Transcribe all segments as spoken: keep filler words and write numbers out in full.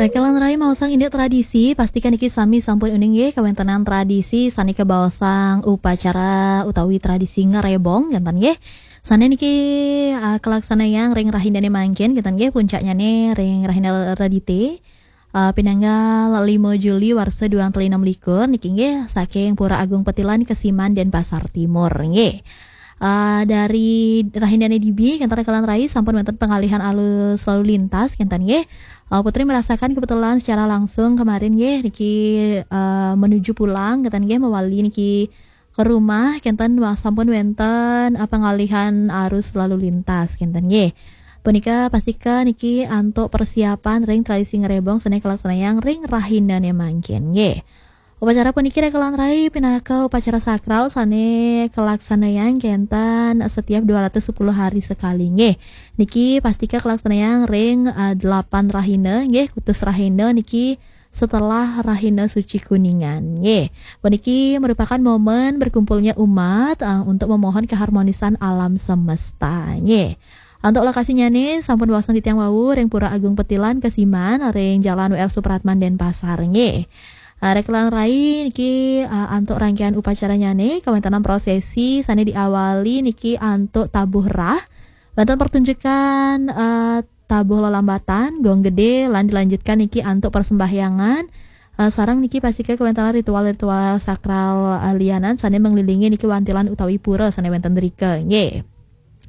Rekelan rai maosang indik tradisi, pastikan niki sami sampun uning nggih kawéntenan tradisi sané kabaosang upacara utawi tradisi ngerebong, kénten nggih. Sané niki, ah, kalaksanayang ring rahinané mangkin, kénten nggih, puncaknyané ring rahina Redité, ah, pinanggal lima Juli warsa duang tali enam likur niki nggih, saking Pura Agung Petilan, Kesiman, Denpasar Timur nggih. Ah, dari rahinané dibi, kénten rekelan rai sampun wénten pengalihan arus lalu lintas, kénten nggih. Ah, Putri merasakan kebetulan secara langsung kemarin nggih, niki, ah, menuju pulang, kénten nggih, mewali niki ke rumah, kénten wa-, sampun wénten, ah, pengalihan arus lalu lintas, kénten nggih. Punika pastika niki antuk persiapan ring tradisi ngerebong sané kalaksanayang ring rahinané mangkin nggih. Upacara puniki rekelan rai pinaka upacara sakral sané kalaksanayang kénten setiap dua ratus sepuluh hari sekali nggih. Niki pastika kalaksanayang ring, ah, delapan rahina nggih, kutus rahina niki setelah Rahina Suci Kuningan nggih. Puniki merupakan momen berkumpulnya umat, ah, untuk memohon keharmonisan alam semesta nggih. Untuk lokasinya nih sampun wasang titiang wau ring Pura Agung Petilan, Kesiman, ring Jalan W R Supratman, Denpasar nggih. Ah, rekelan rai niki, ah, antuk rangkaian upacaranya nih kawéntenan prosesi sané diawali niki antuk tabuh rah, wénten pertunjukan, ah, tabuh lelambatan, gong gedé, lan dilanjutkan niki antuk persembahyangan, ah, sareng niki pastika kawéntenan ritual-ritual sakral, ah, lianan sané menglilingi niki wantilan utawi pura sané wénten drika nggih.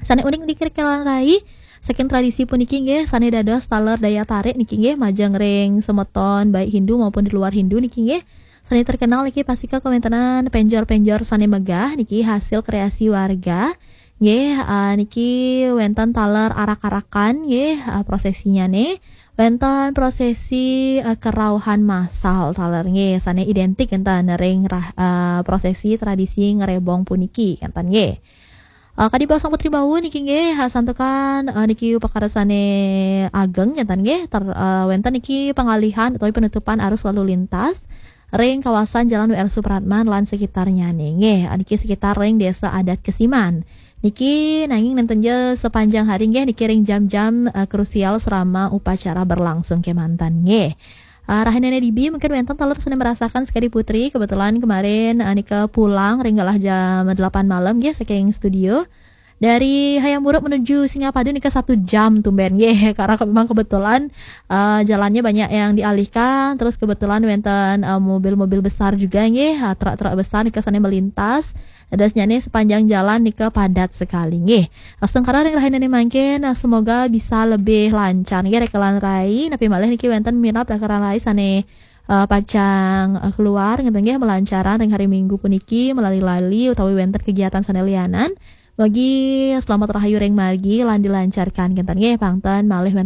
Sané uning niki rekelan rai, saking tradisi puniki nggih, sané dados taler daya tarik niki nggih, majeng ring semeton baik Hindu maupun di luar Hindu niki nggih. Sané terkenal niki pastika kawéntenan pénjor-pénjor sané megah niki hasil kreasi warga. Nggih, ah, niki wénten taler arak-arakan nggih, ah, prosesinya nih. Wénten prosesi, ah, kerauhan massal taler nggih, sané identik kénten ring rah-, ah, prosesi tradisi ngerebong puniki kénten nggih. Eh, kadi baosang Putri wau niki nggih, ha, santukan, eh, niki upakara sané ageng kénten nggih, ter-, eh, wénten niki pengalihan utawi penutupan arus lalu lintas ring kawasan Jalan W R Supratman lan sekitarnya nih nggih. Eh, niki sekitar ring Desa Adat Kesiman. Niki nanging nénten ja sepanjang hari nggih, niki ring jam-jam, eh, krusial selama upacara berlangsung kémanten nggih. Ah, rahinané dibi mungkin wénten taler sané merasakan sekadi Putri. Kebetulan kemarin, ah, nika pulang ring galah jam delapan malam nggih saking studio. Dari Hayam Wuruk menuju Singapadu nika satu jam tumbén nggih. Karena ke-, memang kebetulan, ah, jalannya banyak yang dialihkan, terus kebetulan wénten, ah, mobil-mobil besar juga nggih, ah, truk-truk besar nika sané melintas. Dadosnyané sepanjang jalan nika padat sekali nggih. Astungkara ring rahinané mangkin, ah, semoga bisa lebih lancar nggih rekelan rai, napi malih niki wénten mirab rekelan rai sané, eh, pacang, eh, keluar ngénten nggih, melancaran ring hari Minggu puniki, melali-lali utawi wénten kegiatan sané lianan. Mugi selamat rahayu ring margi lan dilancarkan kénten nggih, pangten malih wénten